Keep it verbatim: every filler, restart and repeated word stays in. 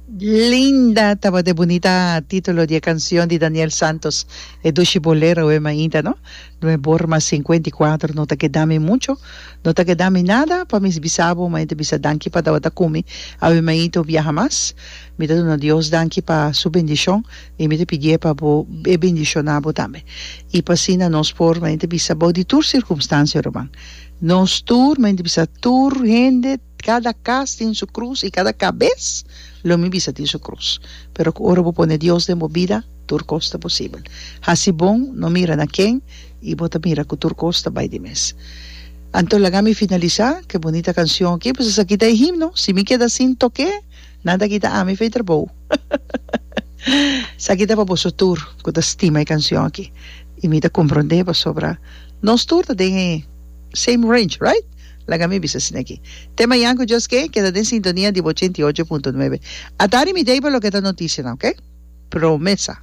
Linda tabata e bunita titulo di e cancion di Daniel Santos, e dushi bolero e mainta, no? Nueb'or mas cincuenta y cuatro, no ta keda mi mucho, no ta keda mi nada pa mi bisa bo, ma mi ta bisa danki pa tabata cu mi awe mainta un biaha mas. Mi ta duna Dios danki pa su bendicion y mi ta pidié pa bo e bendiciona bo tambe. Y pa asina nos por, ma mi ta bisa, bou di tur circumstancia, ruman, nos tur, ma mi ta bisa tur hende, Kada kas tin su krus i kada kabes, lo mi bisa, tin su krus. Pero ku ora bo pone Dios den bo bida, tur kos ta posibel. Hasi bon, no mira na ken, i bo ta mira ku tur kos ta bai di mes. Anto laga mi finalisá ku e bunita kanshon aki, pasobra esaki ta e himno. Si mi keda sin tok'é, nan ta kita ami fei trabou. Esaki ta pa boso tur ku ta stima e kanshon aki. I mi ta komprondé pasobra nos tur ta den e same range, right? Laga mi bisa asina aki. Te mañan ku Dios ke, keda den sintonia di bo ochenta i ocho punto nuebe. Atari mi dei pa loke ta notisianan, ok? Promesa.